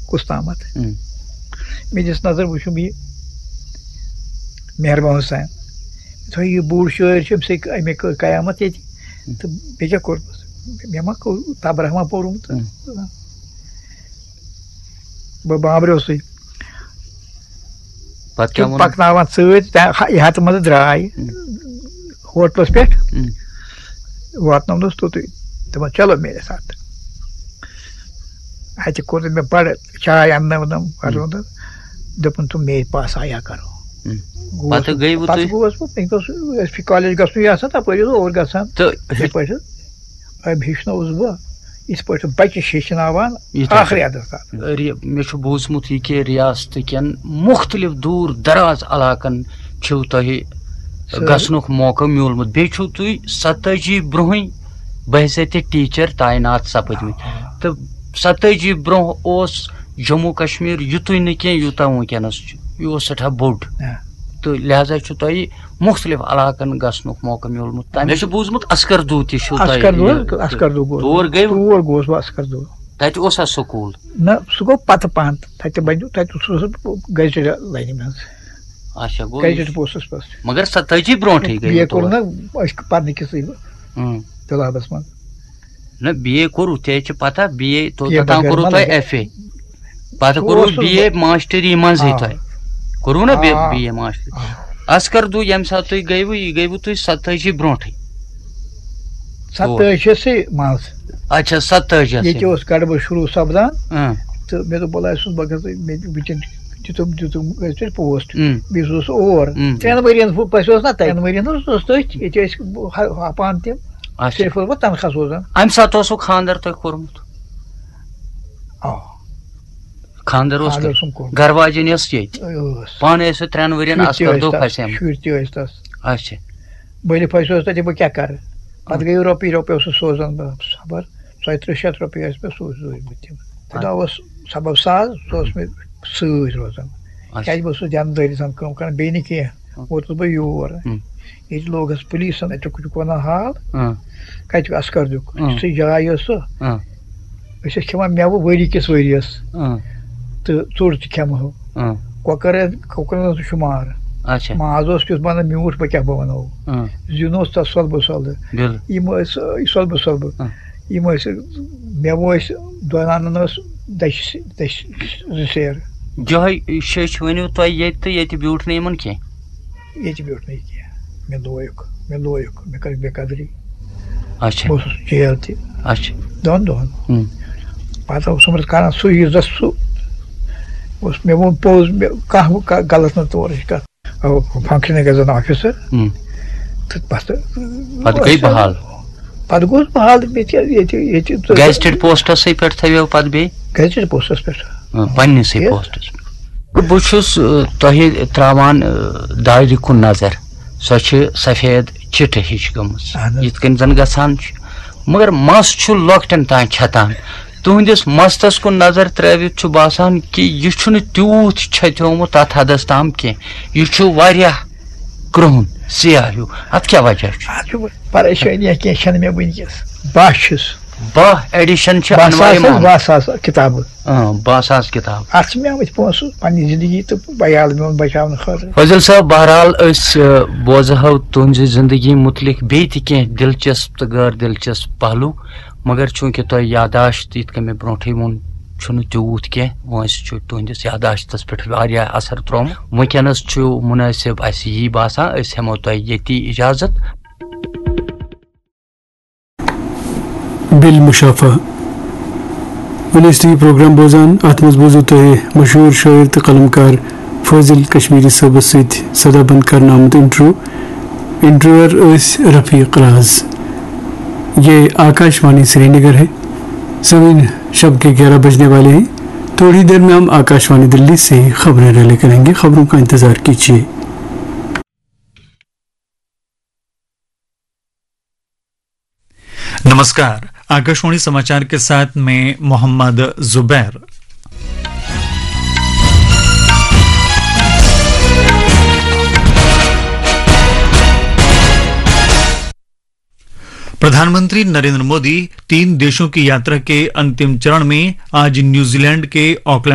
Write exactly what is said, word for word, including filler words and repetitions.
کُس تامَتھ۔ ہم۔ مےٚ دِژ نظر، وٕچھُم یہِ مہربان حسین۔ مےٚ دوٚپ، یہِ بوٚڑ شٲعر چھُ، أمۍ سٕے اَمے کٔر قیامت ییٚتہِ۔ ہم۔ تہٕ بیٚیہِ کیٛاہ کوٚرمُت؟ مےٚ ما کوٚر تبرہ ما پوٚرمُت؟ ہم۔ بہٕ بامبریوسٕے۔ پتہٕ کیٛاہ تِم ووٚنُن؟ پکناوان سۭتۍ، تہ-، یہِ ہتہٕ منٛزٕ درٛاے ہم۔ ہوٹلس پٮ۪ٹھ۔ ہم۔ واتنوونس توٚتُے۔ دوٚپُن، "چلو میرے ساتھ۔" اتہِ کوٚر مےٚ بڑٕ چاے اننٲونم، ہم۔ کرنٲونم۔ دوٚپُن، "تم میرے پاس آیا کرو۔" ہم۔ گوس پتہٕ بہٕ، گٔیوٕ پتہٕ تُہۍ؟ گوس بہٕ، مےٚ اوس، اوس کالج گژھُن یہِ آسان، تپٲرۍ اوس اور گژھان۔ تہٕ یِتھے پٲٹھۍ۔ أمۍ ہیٚچھنووُس بہٕ، یِتھ پٲٹھۍ بَچہِ چھِ ہیٚچھناوان یِتھے آخری پٲٹھۍ۔ حدس تام۔ ری-، مےٚ چھُ بوٗزمُت یہِ کہِ ریاستہٕ کٮ۪ن مُختٔلِف دوٗر دراز علاقن چھُو تۄہہِ سٲری۔ گژھنُک موقعہٕ میوٗلمُت۔ بیٚیہِ چھُو تُہۍ ستٲجی برونٛہٕے بحیثیت ٹیٖچر تعینات سپٕدمٕتۍ۔ آ۔ تہٕ ستٲجی برونٛہہ اوس جموں کشمیر یُتُے نہٕ کینٛہہ، یوٗتاہ وٕنکیٚنس چھُ۔ یہِ اوس سٮ۪ٹھاہ بوٚڑ۔ آ۔ تہٕ لہذا چھُ تۄہہِ مُختٔلِف علاقن گژھنُک موقعہٕ میوٗلمُت۔ تَمہِ مےٚ چھُ بوٗزمُت اَسکَر دوٗ تہِ چھُو تۄہہِ اَسکَر دوٗ یہِ حظ، اَسکَر دوٗ گوٚو۔ تور گٔیوٕ؟ تور گوس بہٕ اَسکَر دوٗ۔ تَتہِ اوسا سکوٗل؟ نہ، سُہ گوٚو پَتہٕ پَہَن۔ تَتہِ بَنیو، تَتہِ اوسُس بہٕ گیزٹِڈ لاینہِ منٛز۔ اچھا، گوٚو یہِ گیزٹِڈ پوسٹَس پٮ۪ٹھ۔ مگر ستٲجی برونٛٹھٕے گٔیوٕ بی اے کوٚر تور۔ نہ أسۍ پَرنہٕ کِسٕے اۭں۔ طلابَس منٛز۔ نہ، بی اے کوٚروٕ، ژےٚ چھِ پَتہ، بی اے تو بی اے توٚتام بغٲر کوٚروٕ ما تۄہہِ لَگہِ۔ F A. پتہٕ سُہ کوٚروٕ اوس بی اے ماسٹری منٛزٕے آ۔ تۄہہِ۔ کوٚروٕ نا بی-، آ۔ بی اے ماسٹری؟ آ۔ اَسکَر دوٗ، ییٚمہِ ساتہٕ تُہۍ گٔیوٕ، یہِ گٔیوٕ تُہۍ ستٲجی برونٛٹھٕے۔ ستٲجی منٛز۔ اچھا، ستٲجی ییٚتہِ منٛز۔ اوس گڑبڑ شروٗع سپدان۔ اۭں۔ تہٕ مےٚ دوٚپ، "وَلہٕ، اَسہِ اوس بہٕ گژھٕ، مےٚ وٕنکٮ۪ن دِتُم، دِتُم گژھِ پوسٹ۔" اۭں۔ بیٚیہِ اوسُس اور۔ اۭں۔ ترٛٮ۪ن ؤرین ہُہ، پَسہِ اوس نا تَتہِ۔ ترٛٮ۪ن ؤرین اوس، اوس تٔتھۍ۔ ییٚتہِ ٲسۍ ہَپان تِم۔ اچھا۔ صرف اوس بہٕ تنخواہ سوزان۔ اَمہِ ساتہٕ اوسُکھ خانٛدر تۄہہِ کوٚرمُت؟ آ۔ خانٛدر اوس خانٛدر تۄہہِ؟ اوسُم کوٚرمُت۔ گرٕ واجِنۍ ٲس ییٚتہِ؟ ٲس۔ پانہٕ ٲسِو ترٛٮ۪ن ؤرین شُرۍ تہِ اَسکَر ٲسۍ دوٗ تَس، پھسیمٕتۍ؟ شُرۍ تہِ ٲسۍ تَس۔ اچھا۔ بٔلۍ پھسیوس تَتہِ، بہٕ کیٛاہ کَرٕ؟ پَتہٕ گٔیو رۄپیہِ، رۄپیہِ اوسُس سوزان بہٕ خبر، ژۄیہِ ترٕٛہ شیٚتھ رۄپیہِ ٲسۍ مےٚ سوٗزۍ، سوٗزۍمٕتۍ تِم۔ خۄدا اچھا۔ اوس سبب ساز، سُہ اوس مےٚ سۭتۍ روزان۔ اچھا۔ کیٛازِ بہٕ اوسُس دیانہٕ دٲری سان کٲم کَران، بیٚیہِ نہٕ کینٛہہ۔ ہُم۔ ووتُس بہٕ یور۔ ہُم۔ ییٚتہِ لوگُس پُلیٖسَن، اَتہِ چھُکھ ژٕ وَنان حال؟ اۭں۔ کَتہِ اَسکَر دیُک؟ اۭں۔ یُس یہِ جاے ٲس سُہ۔ اۭں۔ أسۍ ٲسۍ کھٮ۪وان مٮ۪وٕ ؤری کِس ؤریَس۔ اۭں۔ تہٕ ژوٚٹ تہِ کھٮ۪مہو۔ اۭں۔ کۄکَر ٲسۍ، کۄکرَن اوس شُمار۔ اچھا۔ ماز اوس کیُتھ بَنان میوٗٹھ، بہٕ کیٛاہ بہٕ وَنو۔ اۭں۔ زیُن اوس تَتھ سۄلبہٕ سۄلہٕ۔ بِل۔ یِم ٲسۍ سٲری سۄلبہٕ سۄلبہٕ۔ اۭں۔ یِم ٲسۍ، مٮ۪وٕ ٲسۍ، دۄنَن ٲس دَچھِ، دَچھِ زٕ سیر۔ یِہوٚے شیٚچھ ؤنِو تۄہہِ ییٚتہِ تہٕ ییٚتہِ بیوٗٹھ نہٕ یِمَن کینٛہہ؟ ییٚتہِ بیوٗٹھ نہٕ یہِ کینٛہہ۔ مےٚ لویُکھ، مےٚ لویُکھ، مےٚ کٔر بے قدری۔ اچھا۔ بہٕ اوسُس جیل تہِ اچھا۔ دۄن دۄہَن۔ ہُم۔ پَتہٕ اوسُم بہٕ کران سُہ، یُس زَن سُہ اوس، مےٚ ووٚن پوٚز، مےٚ کانٛہہ، کانٛہہ غلط نہٕ تورٕچ کَتھ۔ Functioning as an officer. ہُم۔ تہٕ پَتہٕ پَتہٕ گٔے بحال۔ پَتہٕ گوٚوس بحال، مےٚ تہِ ییٚتہِ، ییٚتہِ تہٕ گیزٹڈ پوسٹَسٕے پٮ۪ٹھ تھٲوِو پَتہٕ بیٚیہِ؟ گیزٹڈ پوسٹَس پٮ۪ٹھ۔ آ، پننِسٕے یہِ پوسٹَس پٮ۪ٹھ۔ بہٕ چھُس، آ، تۄہہِ ترٛاوان، آ، دارِ کُن نظر۔ سۄ چھِ سفید چِٹھٕ ہِش گٔمٕژ۔ اہن حظ۔ یِتھ کٔنۍ زَن گژھان چھُ۔ مگر مَس چھُ لۄکٹٮ۪ن تام چھَتان۔ تُہٕنٛدِس مَستَس کُن نظر ترٛٲوِتھ چھُ باسان کہِ یہِ چھُنہٕ تیوٗت چھَتیومُت تَتھ حدَس تام کینٛہہ۔ یہِ چھُ واریاہ کرٛہُن، سیاہ ہیوٗ۔ اَتھ کیٛاہ وجہ چھُ؟ اَتھ چھُ پریشٲنی کینٛہہ چھَنہٕ مےٚ وٕنکیٚس۔ باہ چھُس۔ باہ ایڈیشن چھِ باہ انوارِ ساس حظ، محمد۔ باہ ساس کِتابہٕ۔ اۭں، باہ ساس کِتاب۔ اَتھ چھِ مےٚ آمٕتۍ پونٛسہٕ پننہِ زندگی تہٕ عیال میون بچاونہٕ خٲطرٕ۔ فٲضل صٲب، بہرحال أسۍ، آ، بوزہو تُہنزِ زندگی متعلق بیٚیہِ تہِ کینٛہہ دلچسپ تہٕ غٲر دلچسپ پہلو، مگر چونکہ تۄہہِ یاداشت، یِتھ کٔنۍ مےٚ برونٛٹھٕے ووٚن، چھُنہٕ تیوٗت کینٛہہ، وٲنٛسہِ چھُ تُہنٛدِس یاداشتس پٮ۪ٹھ واریاہ اثر ترٛوومُت۔ وٕنکیٚنس چھُ مُنٲسِب اَسہِ یی باسان، أسۍ ہٮ۪مو تۄہہِ ییٚتی اجازت۔ بالمشافہ۔ وۄنۍ ٲسِو تُہۍ یہِ پروگرام بوزان، اَتھ منٛز بوٗزِو تۄہہِ مشہوٗر شٲعر تہٕ قلمکار فٲضِل کشمیٖری صٲبَس سۭتۍ سدا بند کرنہٕ آمُت انٹرویو۔ انٹرویور ٲسۍ رفیق راز۔ یہ آکاش وانی سری نگر ہے۔ سامعین، شب کے گیارہ بجنے والے ہیں، تھوڑی دیر میں ہم آکاش وانی دلی سے خبریں ریلے کریں گے، خبروں کا انتظار کیجیے۔ नमस्कार, आकाशवाणी समाचार के साथ मैं मोहम्मद जुबैर। प्रधानमंत्री नरेंद्र मोदी तीन देशों की यात्रा के अंतिम चरण में आज न्यूजीलैंड के ऑकलैंड